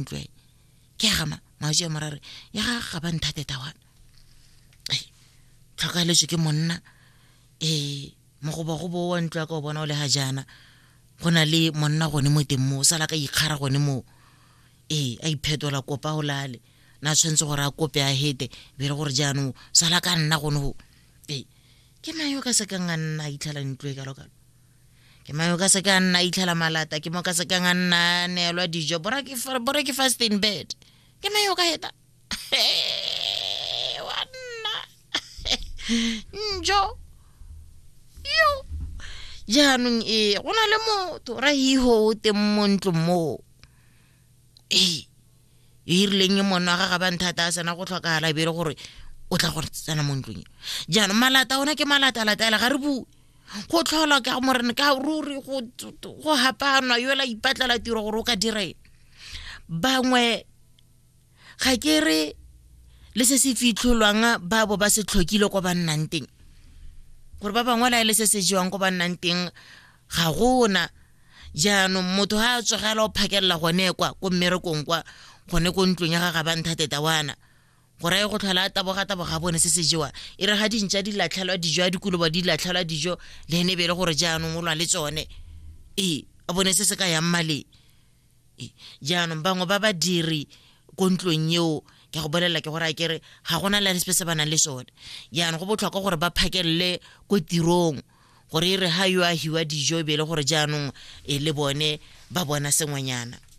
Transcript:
Ntlo e ke ya gama maoji a morare ya ga ga ba nthate tawana tlhokaeletswe ke monna ee mogobagobo wa ntlo ya ka o bona o le ga jaana go na le monna gone mo teng moo sala ka ikgara gone moo ee a iphetola kopa o lale na tshwanetse gore a kope a hete be le gore jaanong sala ka nna gone go ee ke mang yo ka sekang a nna a itlhela ntlo e kalo-kalo ke mang yo ka sekang a nna a itlhela malata ke mo ka sekang a nna a neelwa dijo bora ke fast in bed ke mang yo ka heta wa nna njo yo jaanong ee go na le motho ra hiho o teng mo ntlong moo ee e rileng e monna wa ga ba nthata a sena go tlhokagala e be e le gore o tla go tsena mo ntlong e jaanong malata ona ke malata latela ga re bue go tlhola ka morena ka ruri go hapanwa yola ipatlela tiro gore o ka dira eng bangwe ga ke re le se se fitlholwang ba bo ba se tlhokile ko ba nnang teng gore ba bangwe la e le se se jewang ko ba nnang teng ga gona jaanong motho ga a tsogela o phakelela gone kwa ko mmerekong kwa gone ko ntlong ya ga ga banthateta wana gore a ye go tlhola a taboga taboga bone se se jewa e re ga dintša di latlhelwa dijo a dikoloba di latlhelwa dijo le ene e be e le gore jaanong o lwa le tsone ee a bone se se ka yang maleng jaanong bangwe ba badiri ko ntlong eo ke go bolelela ke gore a kere ga gona le sepe se ba nang le sone jaanong go botlhokwa gore ba phakelele ko tirong gore e re ga yo a hiwa dijo e be e le gore jaanong e le bone ba bona sengwenyana.